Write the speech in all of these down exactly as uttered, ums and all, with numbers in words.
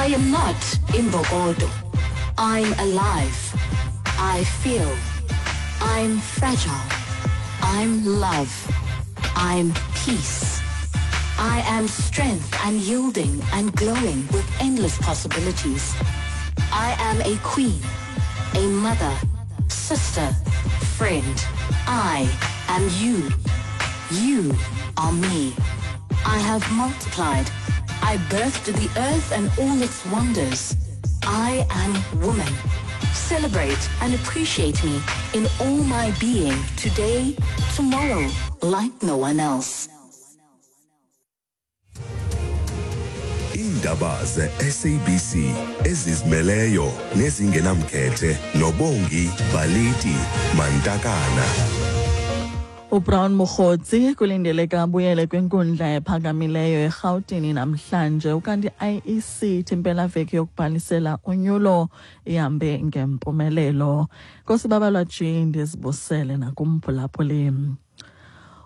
I am not imbokodo. I'm alive. I feel. I'm fragile. I'm love. I'm peace. I am strength and yielding and glowing with endless possibilities. I am a queen, a mother, sister, friend. I am you. You are me. I have multiplied. I birthed the earth and all its wonders. I am woman. Celebrate and appreciate me in all my being, today, tomorrow, like no one else. Iindaba ze-S A B C ezizimeleyo nezingenamkhethe noBongi Baliti Mantakana. UBrown Mogotsi kulindeleke abuyele kwinkundla ephakamileyo eRhawutini namhlanje, ukanti I E C ithi impelaveki yokubhalisela unyulo ihambe ngempumelelo. Nkosi Babalwa G, ndizibusele nakumphulaphuli.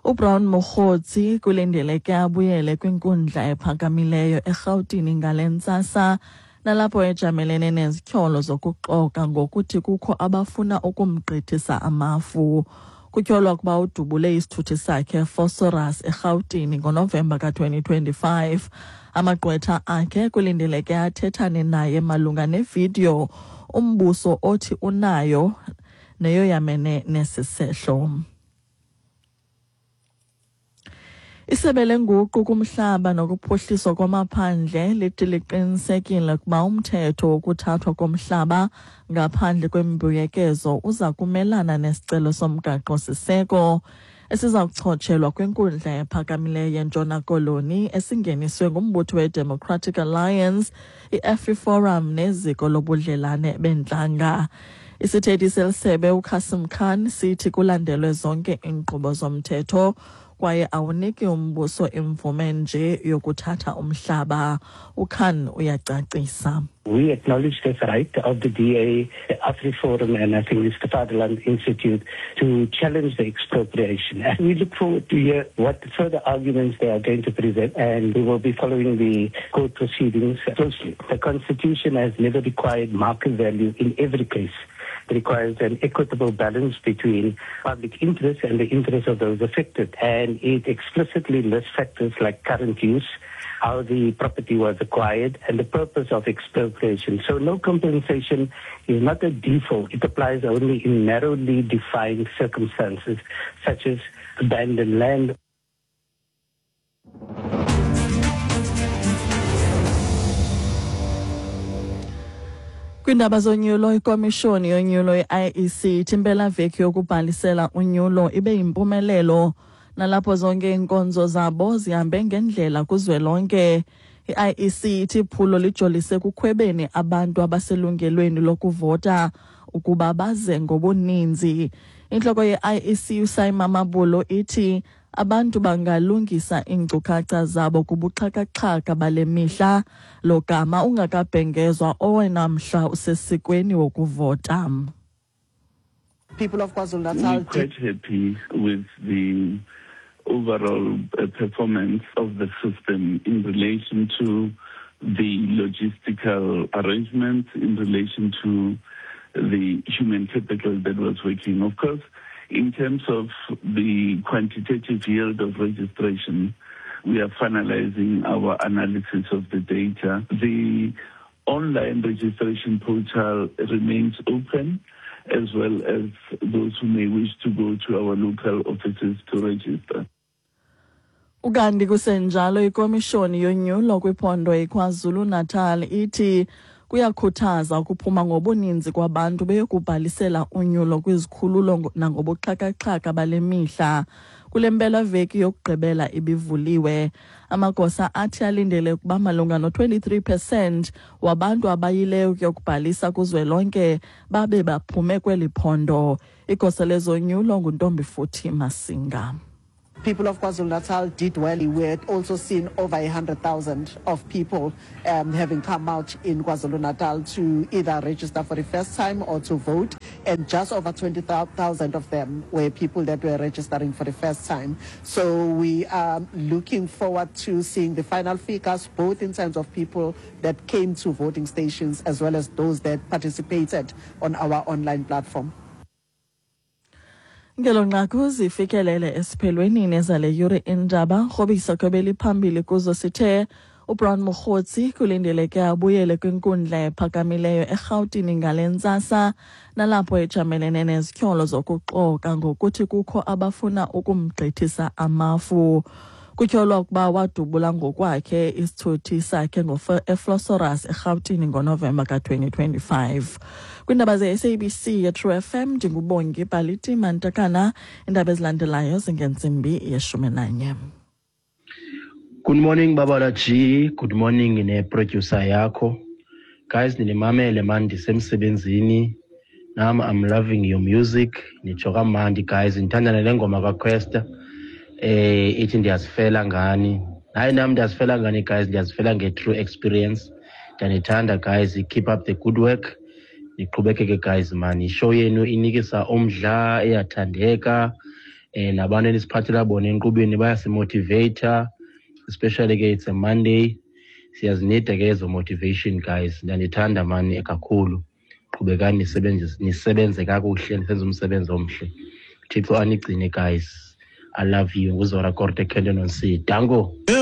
UBrown Mogotsi kulindeleke abuyele kwinkundla ephakamileyo eRhawutini ngale ntsasa, nalapho ejamelene nezityholo zokuxoka ngokuthi kukho abafuna ukumgqithisa amafu. Kutyholwa ukuba udubule isithuthi sakhe Phosphorus eRhawutini ngoNovemba ka twenty twenty-five. Amagqwetha akhe kulindeleke athethane naye malunga nevidiyo umbuso othi unayo neyoyamene nesisehlo. Isebe lenguqu kumhlaba nokuphuhliswa kwamaphandle lithi liqinisekile ukuba umthetho wokuthathwa komhlaba ngaphandle kwembuyekezo uza kumelana nesicelo somgaqo-siseko esiza kuchotshelwa kwinkundla ephakamileyo yeNtshona Koloni esingeniswe ngumbutho we-Democratic Alliance, i-AfriForum neziko lobudlelane bentlanga. Isithethi selisebe uKasim Khan sithi kulandelwe zonke iinkqubo zomthetho kwaye awuniki umbuso imvume nje yokuthatha umhlaba. uKhan uyacacisa. We acknowledge this right of the D A, the AfriForum, and I think it's the Fatherland Institute to challenge the expropriation. And we look forward to hear what further arguments they are going to present, and we will be following the court proceedings closely. The Constitution has never required market value in every case. It requires an equitable balance between public interest and the interest of those affected. And it explicitly lists factors like current use, how the property was acquired, and the purpose of expropriation. So no compensation is not a default. It applies only in narrowly defined circumstances, such as abandoned land. Kwindaba zonyulo, ikomishoni yonyulo i-I E C ithi impelaveki yokubhalisela unyulo ibe yimpumelelo nalapho zonke iinkonzo zabo zihambe ngendlela kuzwelonke. I-I E C ithi iphulo lijolise kukhwebeni abantu abaselungelweni lokuvota ukuba baze ngobuninzi. Intloko ye-I E C uSimon Mabulo ithi abantu bangalungisa iinkcukacha zabo kubuxhakaxhaka bale mihla logama ungakabhengezwa owena mhla usesikweni wokuvota. People of KwaZulu-Natal, we're quite happy with the overall performance of the system in relation to the logistical arrangements, in relation to the human capital that was working. Of course, in terms of the quantitative yield of registration, we are finalizing our analysis of the data. The online registration portal remains open, as well as those who may wish to go to our local offices to register. Ukanti kusenjalo, ikomishoni yonyulo kwiphondo iKwaZulu-Natal ithi kuyakhuthaza ukuphuma ngobuninzi kwabantu beyokubhalisela unyulo kwizikhululo nangobuxhakaxhaka bale mihla. Kule mpelaveki yokugqibela ibivuliwe, amagosa athi alindele ukuba malunga no-twenty-three percent wabantu abayileyo ukuyokubhalisa kuzwelonke babe baphume kweli phondo. Igosa lezonyulo nguNtombifuthi Masinga. People of KwaZulu-Natal did well. We had also seen over one hundred thousand of people um, having come out in KwaZulu-Natal to either register for the first time or to vote. And just over twenty thousand of them were people that were registering for the first time. So we are looking forward to seeing the final figures, both in terms of people that came to voting stations as well as those that participated on our online platform. Ngelo nqaku zifikelele esiphelweni nezale yure indaba rhobisa kwebeliphambili kuzo sithe uBrown Mogotsi kulindeleke abuyele kwinkundla ephakamileyo eRhawutini ngale ntsasa nalapho ejamelene nezityholo zokuxoka ngokuthi kukho abafuna ukumgqithisa amafu. Kutyholwa ukuba wadubula ngokwakhe isithuthi sakhe eVosloorus eRhawutini ngoNovemba ka-twenty twenty-five. Kwiindaba ze-S A B C yeTru F M, ndinguBongi Baliti Mantakana. Iindaba ezilandelayo zingentsimbi yeshumi nanye. Good morning, Babala G. Good morning ne-producer yakho. Guys, ninimamele man ndisemsebenzini. Nam I'm loving your music. Nitsho kamandi, guys. Ndithanda nale ngoma kaQuesta. Eh ithi ndiyazifela ngani. Hayi, nam ndiyazifela ngani, guys, ndiyazifela nge-true experience. Ndiyanithanda, guys. Keep up the good work. Niqhubekeke, guys, man. Ishow yenu inikisa umdla, iyathandeka. Eh nabantu enisiphathela bona enkqubeni bayasimotivata, especially ke it's a Monday, siyazinida ke ezo motivation, guys. Ndiyanithanda mani kakhulu. Qhubekani nisebenze, nisebenze kakuhle, nisenze umsebenzi omhle. Thixo anigcine, guys. I love you. NguZora Korte, Kenton on C. Dango.